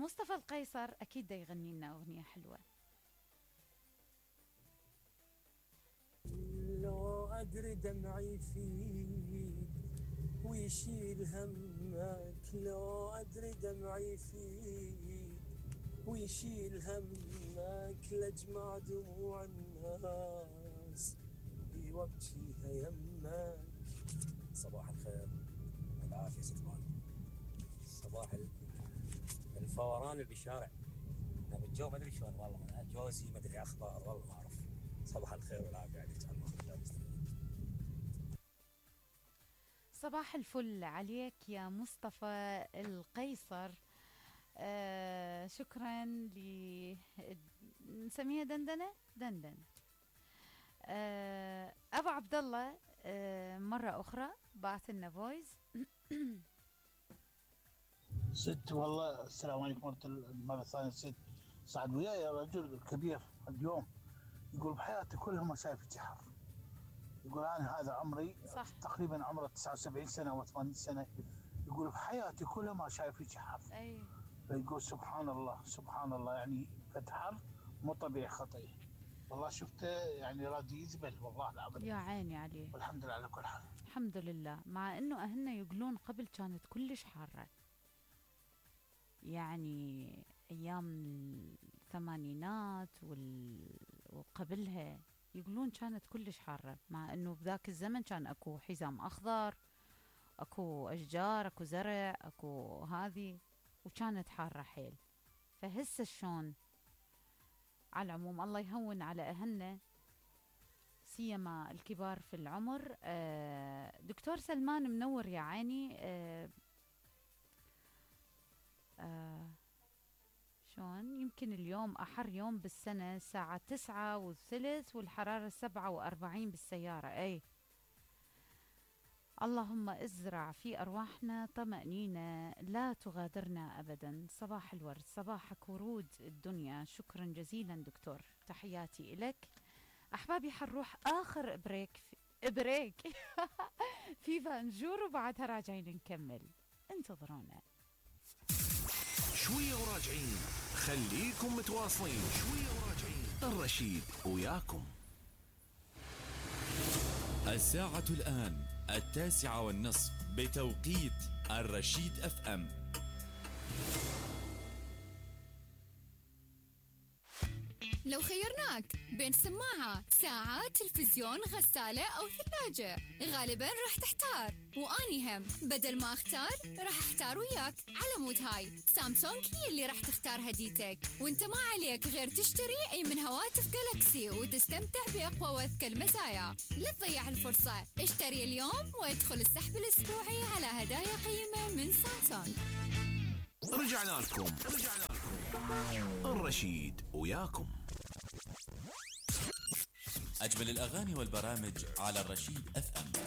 مصطفى القيصر أكيد دا يغني لنا أغنية حلوة. لو أدري دمعي فيك ويشيل همك، لو أدري دمعي فيك ويشيل همك، لأجمع دموع الناس وابكيها يمك. صباح الخير والعافية ستمان، صباح الفوران اللي بالشارع. الجو ما ادري شلون والله، جوزي ما ادري اخبار والله ما اعرف. صباح الخير والعافيه عليك. صباح الفل عليك يا مصطفى القيصر. شكرا نسميها دندنة. أبو عبد الله مرة أخرى بعث لنا فويس. ست والله السلام عليكم مرة ثانية. ست صعد وياي يا رجل كبير اليوم، يقول بحياتي كلها ما شايف حر. يقول أنا هذا عمري صح. تقريبا عمره 79 سنة أو 80 سنة، يقول بحياتي كلها ما شايف حر. أي. فيقول سبحان الله سبحان الله، يعني فتحر مو طبيعي خطير والله. شفته يعني راضي يزبل والله العظيم. يا عيني عليه. والحمد لله على كل حال. الحمد لله، مع انه اهلنا يقولون قبل كانت كلش حارة، يعني ايام الثمانينات وقبلها يقولون كانت كلش حارة، مع انه بذاك الزمن كان اكو حزام اخضر، اكو اشجار، اكو زرع، اكو هذه، وكانت حارة حيل. فهسه شلون؟ على العموم الله يهون على اهلنا سيما الكبار في العمر. دكتور سلمان منور يا عيني. شلون؟ يمكن اليوم أحر يوم بالسنة، الساعة 9:03 والحرارة 47 بالسيارة. أي اللهم ازرع في أرواحنا طمأنينة لا تغادرنا أبدا. صباح الورد، صباحك ورود الدنيا. شكرا جزيلا دكتور، تحياتي إلك. أحبابي حنروح آخر بريك في فانجور، وبعدها راجعين نكمل، انتظرونا شوية وراجعين. خليكم متواصلين، شوية وراجعين. الرشيد وياكم. الساعة الآن 9:30 بتوقيت الرشيد FM. لو خيرناك بين سماعة، ساعة، تلفزيون، غسالة أو ثلاجة، غالباً راح تحتار، وأني هم بدل ما أختار راح أحتار وياك. على مود هاي سامسونج هي اللي راح تختار هديتك، وانت ما عليك غير تشتري أي من هواتف جالكسي وتستمتع بأقوى وأذكى المزايا. لا تضيع الفرصة، اشتري اليوم وادخل السحب الأسبوعي على هدايا قيمة من سامسونج. رجعنا لكم الرشيد وياكم. أجمل الأغاني والبرامج على الرشيد FM.